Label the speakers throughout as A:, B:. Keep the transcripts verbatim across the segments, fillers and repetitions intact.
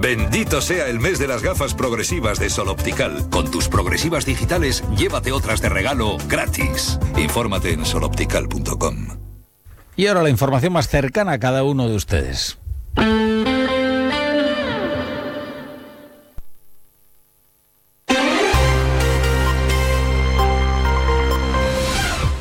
A: Bendito sea el mes de las gafas progresivas de Sol Optical. Con tus progresivas digitales, llévate otras de regalo gratis. Infórmate en sol optical punto com.
B: Y ahora la información más cercana a cada uno de ustedes.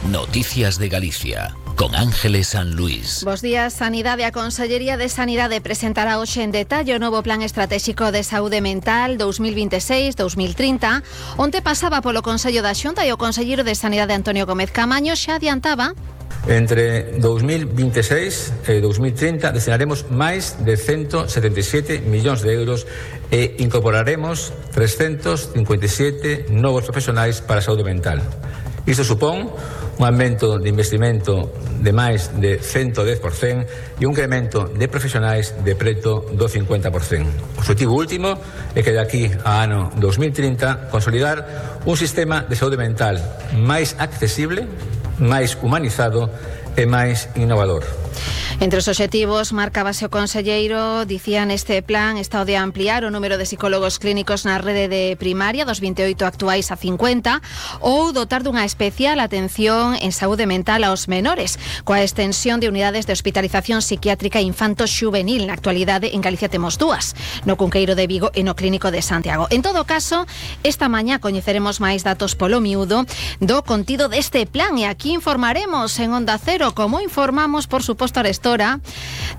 C: Noticias de Galicia, con Ángeles San Luis.
D: Bos días. Sanidade. A Consellería de Sanidade presentará hoxe en detalle o novo Plan Estratégico de Saúde Mental dos mil veintiséis a dos mil trinta. Onte pasaba polo Consello da Xunta e o Conselleiro de Sanidade Antonio Gómez Camaño xa adiantaba.
E: Entre dos mil veintiséis e dos mil trinta destinaremos máis de ciento setenta e sete millóns de euros e incorporaremos trescentos cincuenta e sete novos profesionais para a saúde mental. Isto supón un aumento de investimento de máis de ciento dez por cento e un incremento de profesionais de preto do cincuenta por cento. O objetivo último é que de aquí a ano dos mil trinta consolidar un sistema de saúde mental máis accesible, máis humanizado e máis innovador.
D: Entre os obxectivos marcábase o conselleiro, dicía neste plan está o de ampliar o número de psicólogos clínicos na rede de primaria dos vinte e oito actuais a cincuenta ou dotar dunha especial atención en saúde mental aos menores, coa extensión de unidades de hospitalización psiquiátrica infanto-xuvenil. Na actualidade en Galicia temos dúas, no Cunqueiro de Vigo e no Clínico de Santiago. En todo caso, esta mañá coñeceremos máis datos polo miúdo do contido deste plan e aquí informaremos en Onda Cero, como informamos, por suposto, a Arestora,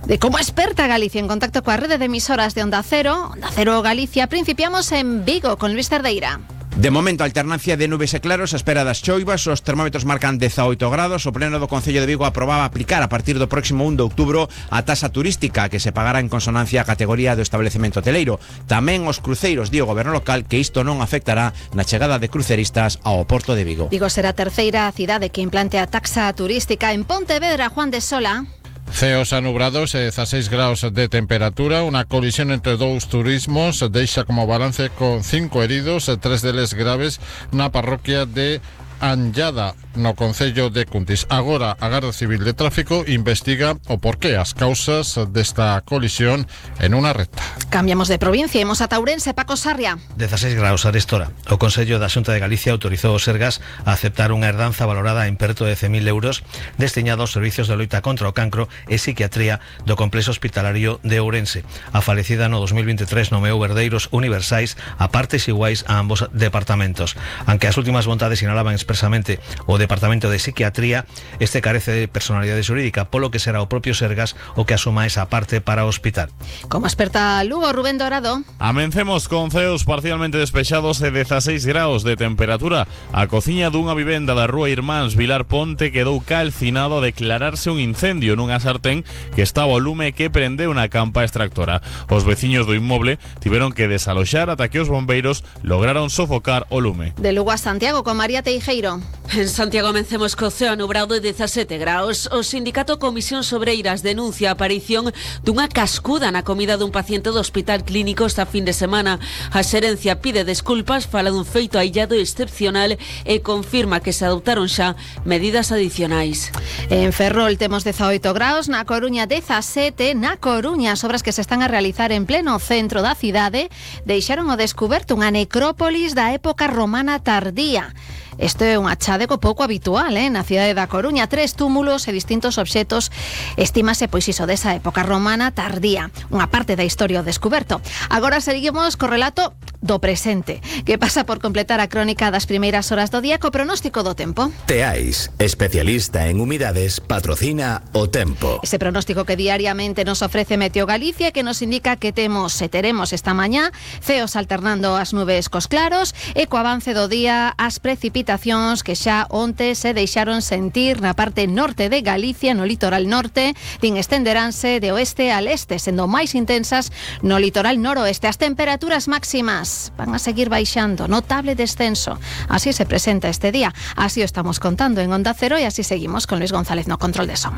D: de como experta Galicia en contacto coa rede de emisoras de Onda Cero, Onda Cero Galicia. Principiamos en Vigo con Luis Cerdeira.
F: De momento, alternancia de nubes e claros, a espera das choivas. Os termómetros marcan dezaoito grados. O pleno do Concello de Vigo aprobaba aplicar a partir do próximo un de outubro a taxa turística que se pagará en consonancia a categoría do establecemento hoteleiro. Tamén os cruceiros, di o goberno local, que isto non afectará na chegada de cruceristas ao Porto de Vigo.
D: Vigo será a terceira cidade que implante a taxa turística. En Pontevedra, Juan de Sola.
G: Ceos anubrados e dezaseis graus de temperatura. Unha colisión entre dous turismos deixa como balance con cinco heridos, tres deles graves, na parroquia de Anllada, no Concello de Cuntis. Agora a Garda Civil de Tráfico investiga o porqué, as causas desta colisión en unha recta.
D: Cambiamos de provincia, imos a Ourense. Paco Sarria.
H: dezaseis graus, Arestora. O Consello da Xunta de Galicia autorizou o Sergas a aceptar unha herdanza valorada en perto de cen mil euros destinada aos servicios de loita contra o cancro e psiquiatría do complexo hospitalario de Ourense. A falecida no dos mil veintitrés nomeou herdeiros universais a partes iguais a ambos departamentos. Aunque as últimas vontades sinalaban expresamente o Departamento de Psiquiatría, este carece de personalidade xurídica, polo que será o propio Sergas o que asuma esa parte para o hospital.
D: Como experta Lugo, Rubén Dorado.
I: Amencemos con ceos parcialmente despexados e dezaseis graus de temperatura. A cociña dunha vivenda da rúa Irmáns Vilar Ponte quedou calcinado a declararse un incendio nunha sartén que estaba ao lume que prendeu na campa extractora. Os veciños do inmoble tiveron que desaloxar ata que os bombeiros lograron sofocar o lume.
D: De Lugo a Santiago con María Teijeiro.
J: En Santiago amencemos co ceo nubrado de dezasete graus. O sindicato Comisión Obreiras denuncia a aparición dunha cascuda na comida dun paciente do Hospital Clínico esta fin de semana. A xerencia pide desculpas, fala dun feito aillado e excepcional e confirma que se adoptaron xa medidas adicionais.
D: En Ferrol temos dezaoito graus, na Coruña dezasete. Na Coruña, as obras que se están a realizar en pleno centro da cidade deixaron ao descuberto unha necrópolis da época romana tardía. Isto é un achadego pouco habitual, eh? Na cidade da Coruña, tres túmulos e distintos obxetos, estímase pois iso desa época romana tardía, unha parte da historia ao descuberto. Agora seguimos co relato do presente, que pasa por completar a crónica das primeiras horas do día co pronóstico do tempo.
C: Teais, especialista en humidades, patrocina o tempo.
D: Ese pronóstico que diariamente nos ofrece Meteo Galicia, que nos indica que temos e teremos esta mañá ceos alternando as nubes cos claros e co avance do día as precipitacións que xa onte se deixaron sentir na parte norte de Galicia, no litoral norte, din estenderánse de oeste a leste, sendo máis intensas no litoral noroeste. As temperaturas máximas van a seguir baixando, notable descenso. Así se presenta este día, así o estamos contando en Onda Cero e así seguimos con Luis González no control de son.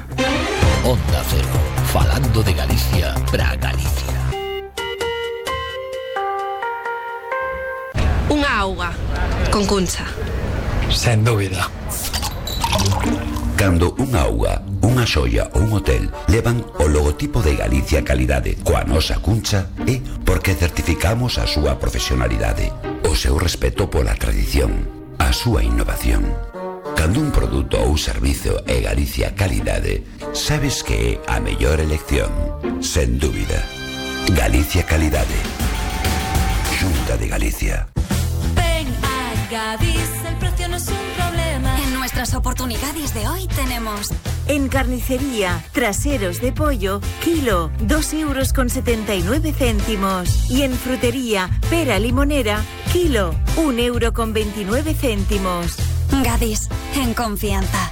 C: Onda Cero, falando de Galicia pra Galicia.
K: Unha auga con Cuncha.
L: Sen dúbida.
A: Cando unha auga
K: unha xoia ou un hotel levan o logotipo de Galicia Calidade coa nosa cuncha e porque certificamos a súa profesionalidade, o seu respeto pola tradición, a súa innovación. Cando un produto ou servizo é Galicia Calidade, sabes que é a mellor elección, sen dúbida. Galicia Calidade. Xunta de Galicia.
L: Ven a Gadis, el precio no es un problema. En nuestras oportunidades de hoy tenemos...
M: En carnicería, traseros de pollo, kilo, dos euros con setenta y nueve céntimos. Y en frutería, pera limonera, kilo, un euro con veintinueve céntimos.
L: Gadis, en confianza.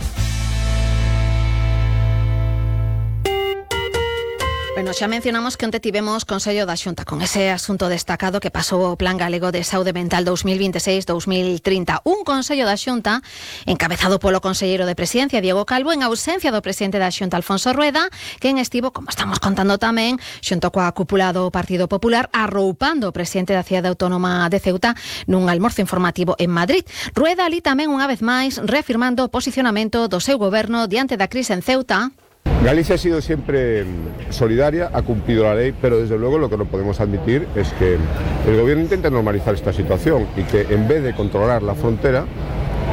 D: Bueno, xa mencionamos que onte tivemos Consello da Xunta con ese asunto destacado que pasou o Plan Galego de Saúde Mental dos mil veintiséis dos mil trinta. Un Consello da Xunta encabezado polo Conselleiro de Presidencia, Diego Calvo, en ausencia do presidente da Xunta, Alfonso Rueda, quen estivo, como estamos contando tamén, xunto coa cúpula do Partido Popular, arroupando o presidente da Cidade Autónoma de Ceuta nun almorzo informativo en Madrid. Rueda ali tamén unha vez máis reafirmando o posicionamento do seu goberno diante da crise en Ceuta.
N: Galicia ha sido siempre solidaria, ha cumplido la ley, pero desde luego lo que no podemos admitir es que el gobierno intente normalizar esta situación y que en vez de controlar la frontera,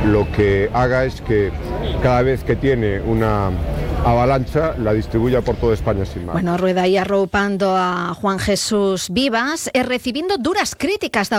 N: lo que haga es que cada vez que tiene una avalancha la distribuya por toda España sin más.
D: Bueno, Rueda aí arroupando a Juan Jesús Vivas e recibindo duras críticas da